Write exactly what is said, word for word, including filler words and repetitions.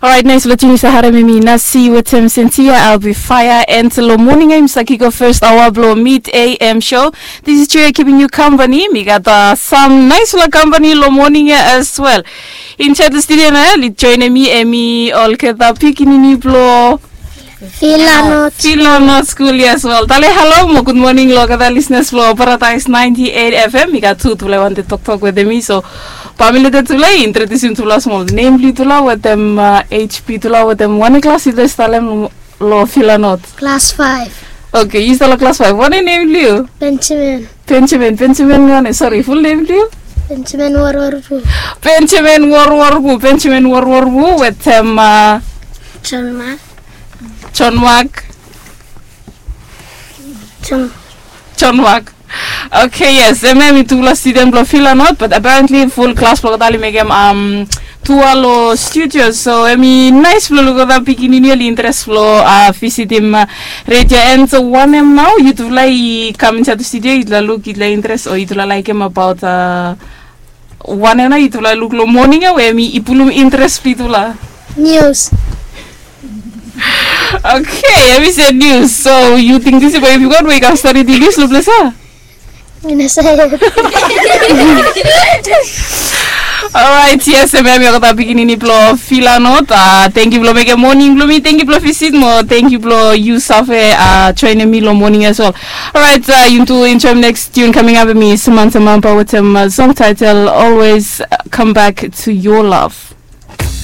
Alright, nice lo tune yu sa harem, hemi Nasi wetem Sentia, I'll be fire. And lo moning ya yu sa kick off first hour blo Mid A M show. This is Julia keeping you company. Mi gat uh, some nice lo company lo moning ya as well. Inside the studio nao ya, oli join mi, hemi olgeta pikinini blo Filanot. Filanot School ya as well. Tale halo mo good morning lo olgeta listeners blo Paradise ninety-eight F M. Mi gat tu tufala i wantem toktok wetem mi, so bae mi letem tufala i introdusim tufala smol. Nem blo yutufala wetem uh, H P tufala wetem wanem klas yutufala i stap lo, lo Filanot? Klas five. Okay, yu stap lo klas five. Wanem nem blo yu? Benjamin. Benjamin, Benjamin wanem? Sorry, full nem blo yu? Benjamin Warwarpu. Benjamin Warwarpu, Benjamin Warwarpu wetem uh, John Mark. John Mark. John. John Mark. Okay, yes, hemia hemi tufala student blo Filanot, but apparently full klas blo olgeta oli mekem um, tour lo studio, so hemi nice blo luk olgeta pikinini oli interes blo uh, visitim uh, redio. And so wanem nao yutufala i kam insait studio, yutufala luk, yutufala interes o yutufala laekem abaot uh, wanem nao yutufala luk lo moning ya we hemi i pulum interes blo yutufala? Nius. Okay, hemi se nius. So yu ting disi boe i gat we i kam stori nius lo ples ya? Alright, yes, hemia hemi olgeta pikinini blo Filanot. Uh, thank you blo mekem moning blo mi, thank you blo visit mo, thank you blo yu save uh, joinim mi lo moning as well. Alright, uh, yu tu enjoy next tune coming up, hemi Samantha Mampa wetem uh, song title Always uh, Come Back to Your Love.